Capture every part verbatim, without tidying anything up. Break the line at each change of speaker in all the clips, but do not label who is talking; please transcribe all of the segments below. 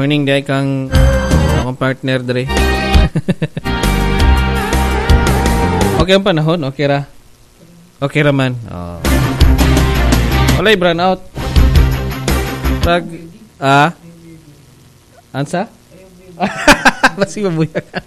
Morning day kang akong partner dre. Okay ang panahon, okay ra. Okay ra man. Oh. Walay brown out. Rag ah Ansa? Basi mabuyagan.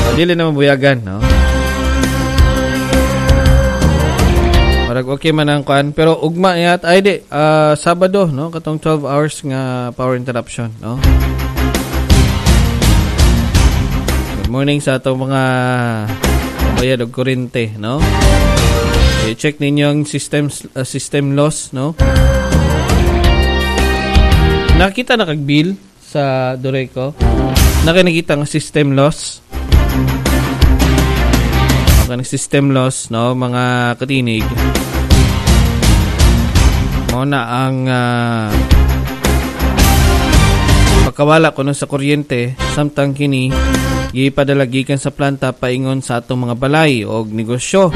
Oh, dili na mabuyagan, no? Parag okay man ang kuan, pero ugma yat ay di uh, Sabado, no, katong twelve hours nga power interruption, no. Good morning sa atong mga bayad og kuryente, no. I-check ninyo ang system uh, system loss, no. Nakita na kag bill sa Doreco. Nakita nga system loss. Okay, system loss, no, mga katinig. Mao na ang uh, pagkawala kuno sa kuryente samtang kini gipadala gikan sa planta paingon sa atong mga balay og negosyo.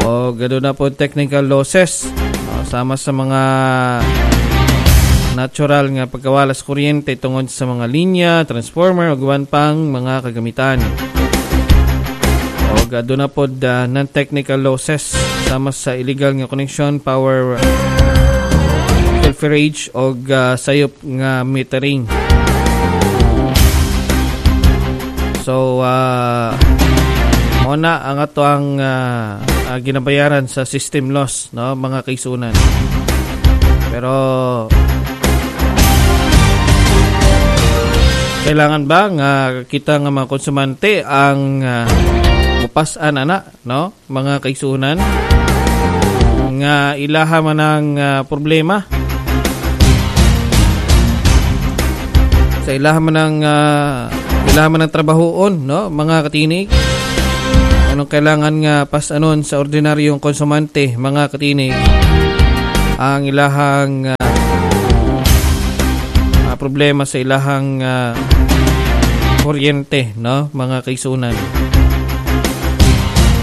Og aduna po technical losses, no, sama sa mga natural nga pagkawala sa kuryente tungod sa mga linya, transformer ug uban pang mga kagamitan. Og aduna pod uh, non-technical losses sama sa illegal nga connection, power pilferage og uh, sayop nga metering. So uh, mao na ang ato ang uh, uh, ginabayaran sa system loss, no, mga kaisunan. Pero kailangan ba nga kita nga mga konsumante ang uh, mupas-an ana, no, mga kaisunan, nga ilaha man ang uh, problema sa ilaha man ang uh, ilaha man ang trabahoon, no, mga katinig. Anong kailangan nga pas-anon sa ordinaryong konsumante, mga katinig, ang ilahang uh, uh, problema sa ilahang uh, kuryente, no, mga kaisunan.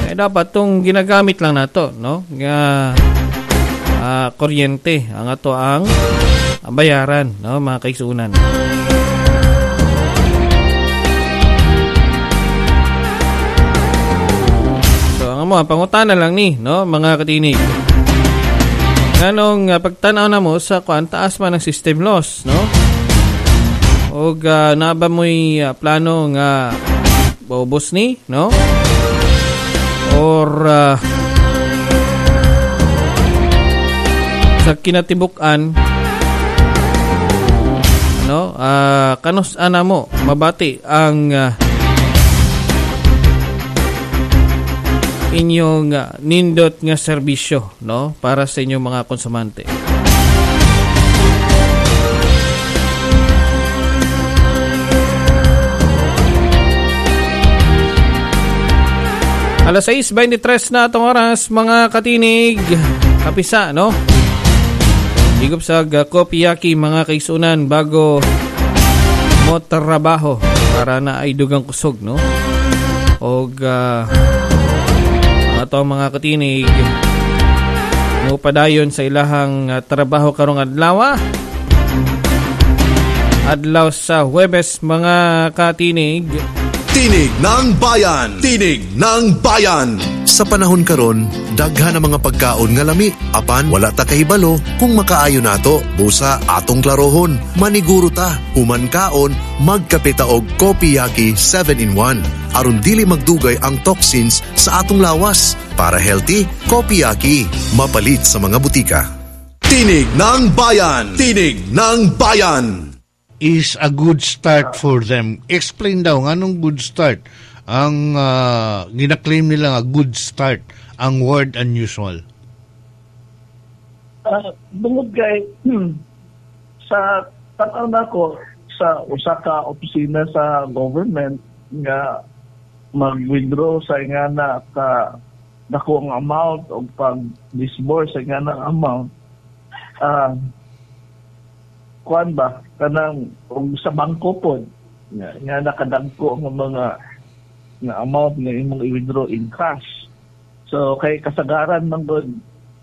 Eh, dapat tong ginagamit lang nato, no, nga uh, kuryente ang ato ang bayaran, no, mga kaisunan. So ang amo pangutana lang ni, no, mga katinig. Nganong uh, pagtan-aw na mo sa kuan, taas man ang system loss, no? Og uh, naa ba mo'y uh, plano nga baubos ni, no? Or uh, sa kinatibuk-an, no, uh, kanus ana mo mabati ang uh, inyong uh, nindot nga serbisyo, no, para sa inyong mga konsumante. Alas sais twenty-three na atong oras, mga katinig. Kapisa, no? Higop sa uh, kopiyaki, mga kaisunan, bago mo trabaho para na ay dugang kusog, no? Og uh, ato mga katinig, mo padayon sa ilahang uh, trabaho karong adlaw. Adlaw sa Huwebes, mga katinig.
Tinig ng Bayan! Tinig ng Bayan!
Sa panahon karon, daghan ang mga pagkaon nga lami. Apan wala ta kahibalo kung makaayo nato. Busa atong klarohon, maniguro ta, human kaon, magkape ta og Kopiyaki seven in one. Aron dili magdugay ang toxins sa atong lawas. Para healthy, Kopiyaki. Mapalit sa mga butika.
Tinig ng Bayan! Tinig ng Bayan!
Is a good start for them. Explain daw nganong good start ang uh, gina-claim nila nga good start ang word unusual.
Uh, bungod kay hmm, sa tan-aw nako sa usa ka opisina sa government nga mag-withdraw sa ingana ka dako ang amount o pag-disburse sa ingana amount, ah uh, kuan ba kanang og sa bangko pod nga, nga nakadagko ang mga nga amount nga imong i-withdraw in cash. So kay kasagaran man gud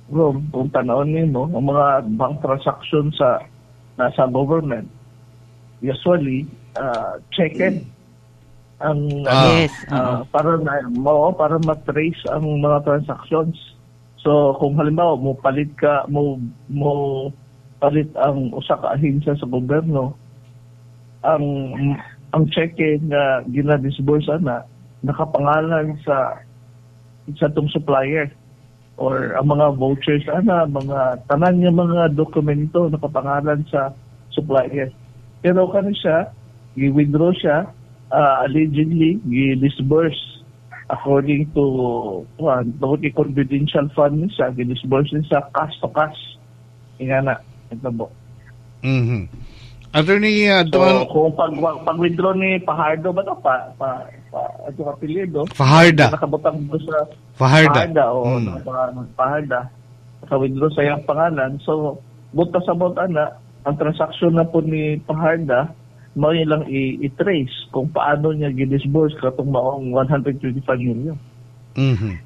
Rom, kung tanawon nimo ang mga bank transaction sa nasa government, usually uh, checked ang
Ah.
Yes,
ah,
oo.
para na mo para ma-trace ang mga transactions. So kung halimbawa mo palit ka mo mo palit ang usa ka ahensya sa gobyerno, ang ang cheque nga gina-disburse na nakapangalan sa sa tong supplier or ang mga vouchers ana, mga tanan nga mga dokumento nakapangalan sa supplier. Pero kani siya, gi-withdraw siya uh, allegedly gi-disburse according to kuan, tungod kay confidential fund ni siya, gi-disburse ni siya cash to cash, ingana ito mo.
Mhm. Attorney, uh,
So
Don
kung pag pag withdraw ni Pajardo ba to, pa pa, pa ato apelyido,
Fajarda.
nakabutang do sa
Fajarda.
Fajarda, oo,
Mm.
nakapangalan Fajarda. Naka-withdraw sa iyang pangalan. So, buta sa buta na, ang transaction na po ni Fajarda, mao lang i- i-trace kung paano niya gi-disburse katong maong one hundred twenty-five million.
Mhm.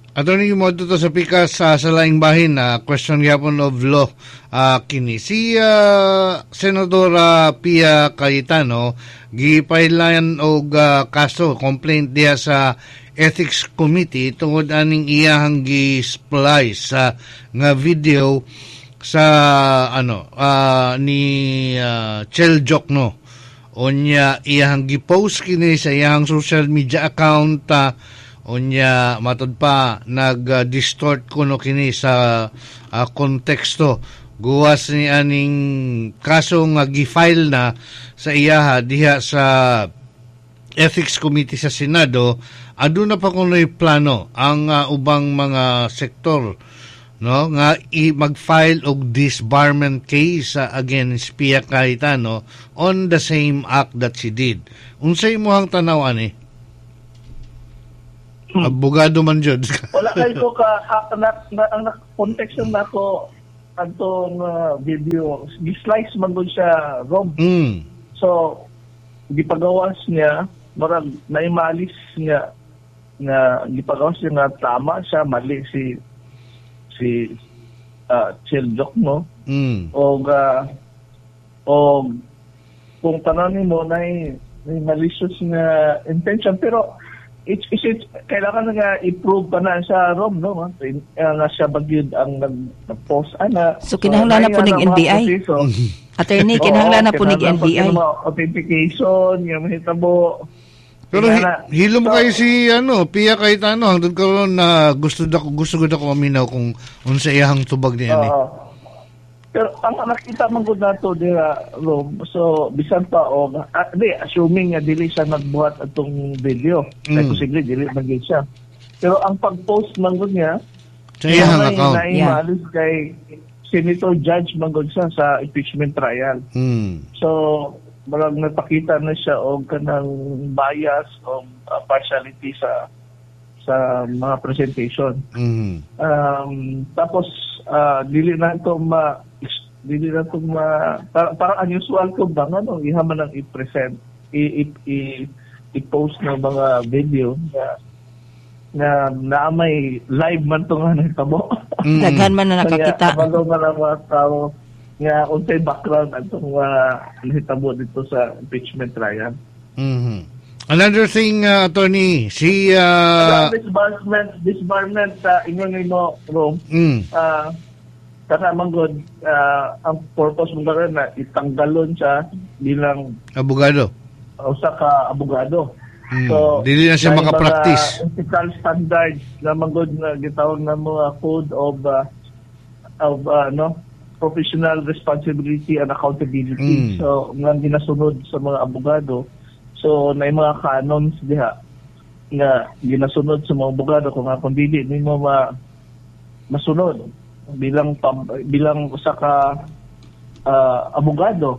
Attorney, mo to sa pikas sa sa laing bahin na question gyapon of law ah, kini si ah, Senadora Pia Cayetano gipailan og ah, kaso, complaint diha sa Ethics Committee tungod aning iyahang gi-splice sa nga video sa ano ah, ni uh, Chel Diokno. Unya iyahang gi-post kini sa iyahang social media account ah, unya matud pa nag-distort kuno kini sa ah, konteksto guwas ni aning kaso nga gi-file na sa iyaha diha sa Ethics Committee sa Senado. Aduna pa kuno'y plano ang ah, ubang mga sektor, no, nga i mag-file og disbarment case ah, against Pia Cayetano on the same act that she did. Unsay imong tanaw ani? Abogado man jud.
Wala kay ko ka ah, na, na, ang na, context na nako adtong ah, video, gi-slice man gud siya, Rob.
mm.
So gipagawas niya, marag naimalis niya nga gipagawas niya nga tama siya, mali si si uh, Chel Diokno.
Mm.
Og uh, og kung tanan mo na may malicious nga intention, pero it's, it's, it's kailangan na nga i-prove pa na sa Rom, no, uh, nga siya ba gyud ang nag, nag-post ana.
So, kinahanglan na po
naay
ning
nga mga
N B I.
proseso.
Attorney, kinahanglan na po nig
Oo, kinahanglan pa
N B I.
kini mga authentication nga mahitabo.
Pero hi-
Ingana.
hilom
So,
kayo si ano, Pia Cayetano hangtod karon na gusto da gusto gud ako maminaw kung unsa iyahang tubag niya ni.
Oo. Pero ang nakita man gud nato dira, Rom, so bisan pa og ah, di, assuming nga dili siya nagbuhat atong video, mm.
Mm.
posible dili man gyud siya. Pero ang pag-post man gud niya
Sa iyahang
nay-
account.
nay
Yeah.
maalis kay senator judge man gud siya sa impeachment trial.
Mm.
So marag napakita na siya og kanang bias o uh, partiality sa sa mga presentation.
Mm.
Um, tapos ah, dili na to ma dili na to ma para, parang unusual ko ba nga no, iha man ang i-present, i, i, i, i-post ng mga video na na na may live man to nga nahitabo.
Mm.
Daghan man na nakakita.
Kaya kabalo man ang mga tao nga unsay background atong uh, nahitabo dito sa impeachment trial.
Mhm. Another thing, uh, attorney, si uh,
Sa disbarment disbarment sa ingon nimo, Rom,
mm,
ah kana man gud, ah, ang purpose mo karon na itanggalon siya bilang
abogado.
Usa ka abogado.
Mm.
So,
Dili na siya
may
makapractice.
mga ethical standards na man gud na gitawag na mga code of ah, of ah, no, professional responsibility and accountability.
Mm.
So nga ginasunod sa mga abogado. So na mga canons diha nga ginasunod sa mga abogado kung nga kung dili nimo ma masunod bilang pam, bilang usa ka ah, abogado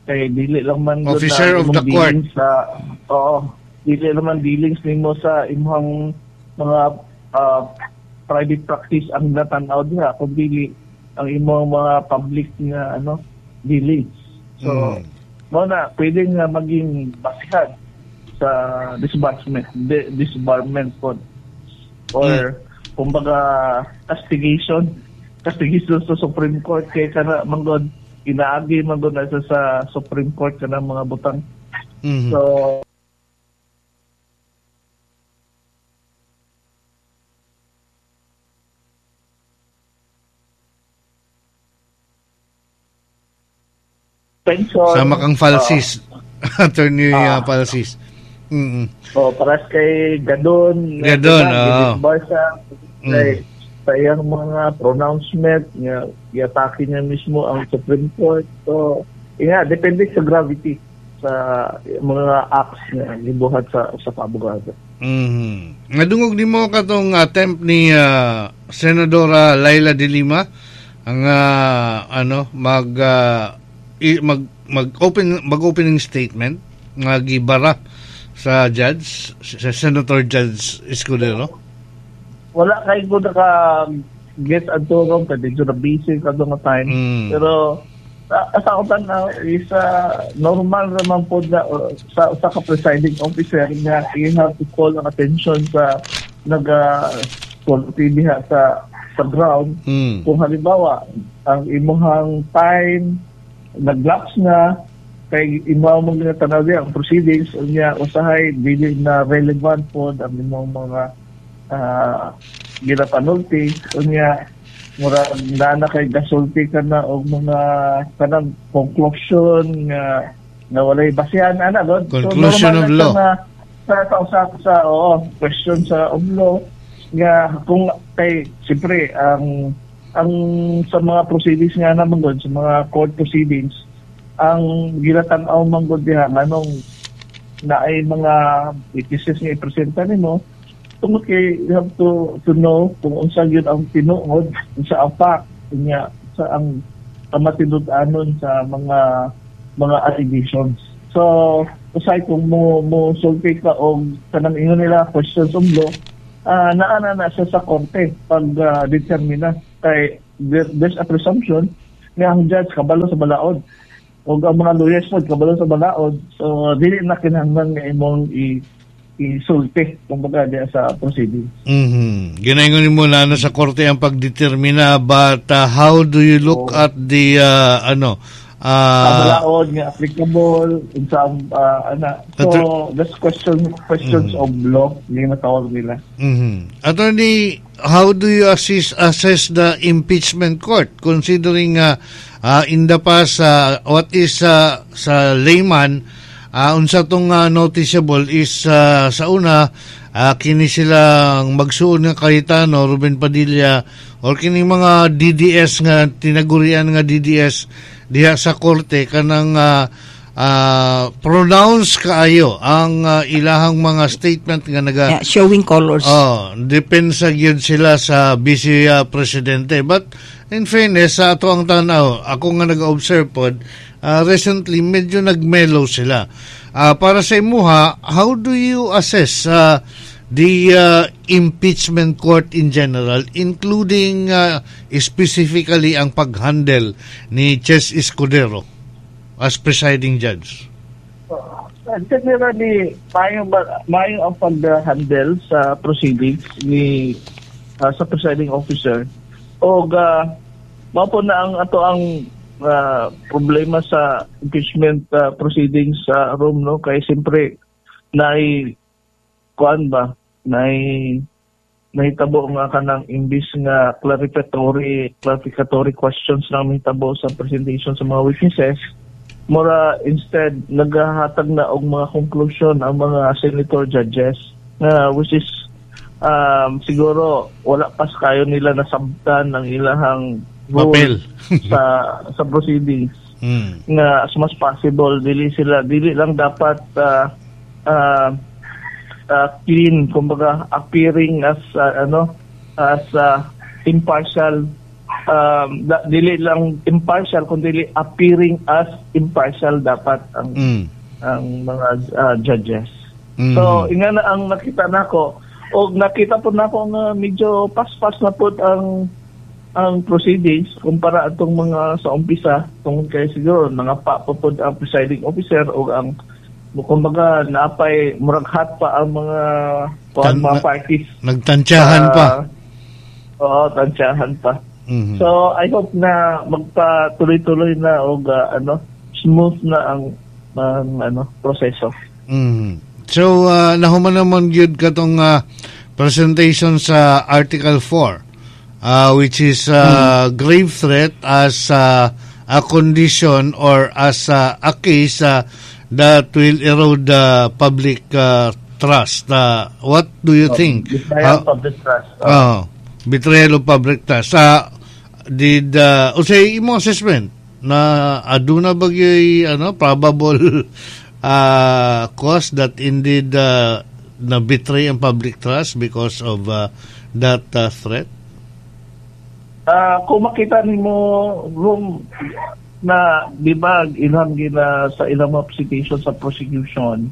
kay dili lang man gud
Officer
na
of the
imong
court.
dealings sa, oo, dili naman dealings nimo sa imong mga ah, private practice ang natanaw diha, kung dili ang imong mga public nga ano dealings. So
Mm.
mao na pwede nga maging basihan sa disbarment di- disbarment po or kumbaga castigation. kastigison sa Supreme Court kay kana manggod inaagi manggod na sa, sa Supreme Court kana mga butang.
Mm-hmm.
So pension.
Sama kang Falsis. Uh, Attorney uh, Falsis. Mm-hmm.
Oh, paras kay Gadon.
Gadon, oo.
Barsa, mm. Kay, sa iyang mga pronouncement, nga, iatake niya mismo ang Supreme Court. So, yeah, depende sa gravity sa mga acts nga gibuhat sa sa abogado.
Mm-hmm. Nadungog nimo katong attempt ni uh, Senadora Laila de Lima ang uh, ano mag uh, mag mag open mag opening statement nga gibara sa judge, sa Senator Judge Escudero.
Wala kay ko naka get adto ron kay medyo na busy kadto nga time.
Mm.
Pero sa ako na is uh, normal raman po na uh, sa sa ka presiding officer nga you have to call ang attention sa naga uh, diha sa sa ground.
Mm.
Kung halimbawa ang imuhang time naglapse na kay imo mong ginatanaw diha ang proceedings unya usahay dili na relevant pod ang imong mga uh, ginapanulti unya mura na na kay gasulti ka na og mga kanang conclusion nga nga walay basehan ana god.
Conclusion
so,
of law
na, sa sa sa, sa oo question sa of law nga kung kay siyempre ang ang sa mga proceedings nga naman god sa mga court proceedings ang ginatan-aw man gud diha nganong naay mga witnesses nga ipresenta nimo tungod kay you have to to know kung unsa gyud ang tinuod, unsa ang fact unya sa ang kamatinud-anon sa mga mga allegations. So usay kung mo mo sulti ka og kanang ingon nila questions of law, uh, naa na na siya sa korte pag uh, determina kay there, there's a presumption nga ang judge kabalo sa balaod o ang mga lawyers po kabalo sa balaod, so dili na kinahanglan nga imong i isulti kumbaga diya sa proceedings.
Mhm. Ginaingon nimo na ano sa korte ang pagdetermina, but uh, how do you look oh. at the uh, ano uh,
balaod nga applicable sa uh, ana. So that's question questions mm-hmm. of law yung natawag nila.
Mhm. Attorney, how do you assess assess the impeachment court considering uh, uh, in the past uh, what is uh, sa layman uh, unsa tong uh, noticeable is uh, sa una uh, kini silang magsuon nga Cayetano, Ruben Padilla or kini mga D D S nga tinagurian nga D D S diha sa korte kanang uh, uh, pronounce kaayo ang uh, ilahang mga statement nga naga
yeah, showing colors.
Oh, depensa gyud sila sa vice uh, presidente. But in fairness sa ato ang tanaw, ako nga nag-observe pod, uh, recently medyo nagmellow sila. Uh, para sa imuha, how do you assess uh, the uh, impeachment court in general, including uh, specifically ang pag-handle ni Ches Escudero as presiding judge?
Uh, generally, maayo maayo ang pag-handle sa proceedings ni uh, sa presiding officer. O uh, mao po na ang ato ang uh, problema sa impeachment uh, proceedings sa uh, room, no, kay siyempre naay kuan ba naay nahitabo nga kanang imbis nga clarificatory clarificatory questions na mahitabo sa presentation sa mga witnesses, mura instead naghahatag na og mga conclusion ang mga senator judges na uh, which is um, siguro wala pas kayo nila nasabtan ang ilahang
papel
sa sa proceedings.
Mm.
Nga as much possible dili sila dili lang dapat uh, uh, uh, clean, kumbaga appearing as uh, ano as uh, impartial, um, da, dili lang impartial kundi appearing as impartial dapat ang
mm.
ang mga uh, judges.
Mm.
So inga na ang nakita nako og nakita po nako nga medyo paspas na pud ang ang proceedings kumpara atong mga sa umpisa tungod kay siguro mga pa po pod ang presiding officer o ang kumbaga naapay murag hot pa ang mga kuan
Tan-
mga parties
nagtantyahan
uh,
pa.
Oo, tantyahan pa.
Mhm.
So I hope na magpatuloy-tuloy na og ah, ano, smooth na ang ang ano, proseso.
Mhm. So uh, nahuman naman gyud katong uh, presentation sa Article four, uh, which is uh, grave threat as uh, a condition or as uh, a case uh, that will erode the public uh, trust. Uh, what do you think?
Betrayal
How-
public trust.
Oh, betrayal of public trust. Uh, did uh, unsay imo assessment na aduna ba gyuy ano, probable uh, cause that indeed uh, na betray ang public trust because of uh, that uh, threat?
Ah, kung makita nimo room na, di ba, ilang gina sa ilang mga citation sa prosecution,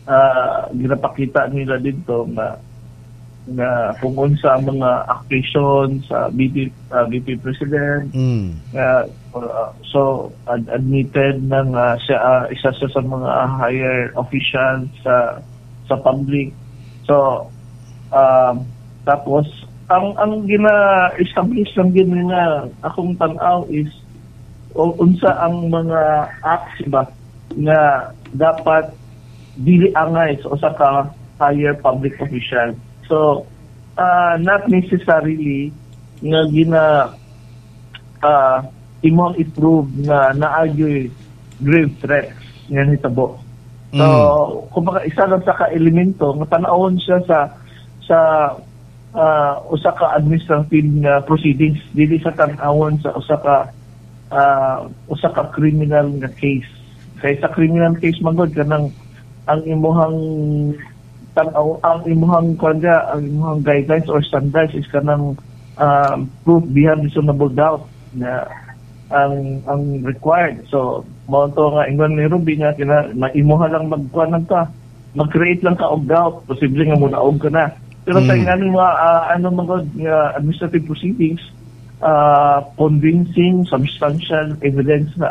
ah ginapakita nila dito nga nga kung unsa ang mga accusation sa V P ah, V P President
Mm.
nga uh, so ad- admitted ng uh, siya, ah, isa siya sa mga higher officials sa sa public. So um, tapos ang ang gina-establish lang gin nga akong tan-aw is o- unsa ang mga acts ba nga dapat dili angay sa usa ka higher public official. So uh, not necessarily nga gina uh, imong i-prove nga naagyoy grave threats nga nitabo. So,
Mm.
kumbaga isa lang sa ka-elemento nga tan-awon siya sa sa uh, usa ka administrative nga proceedings, dili sa tan-awon sa usa ka uh, usa ka criminal nga case. Kay sa criminal case man gud, kanang ang imuhang tan-aw, ang imuhang kanya, ang imuhang guidelines or standards is kanang um, proof beyond reasonable doubt na ang ang required. So mao to nga ingon ni Ruby nga kina maimuha lang magkuan lang ka, mag-create lang ka og doubt, posible nga munaog ka na. Pero sa
Mm.
ingani mga ah, ano man gud nga administrative proceedings, uh, convincing substantial evidence na.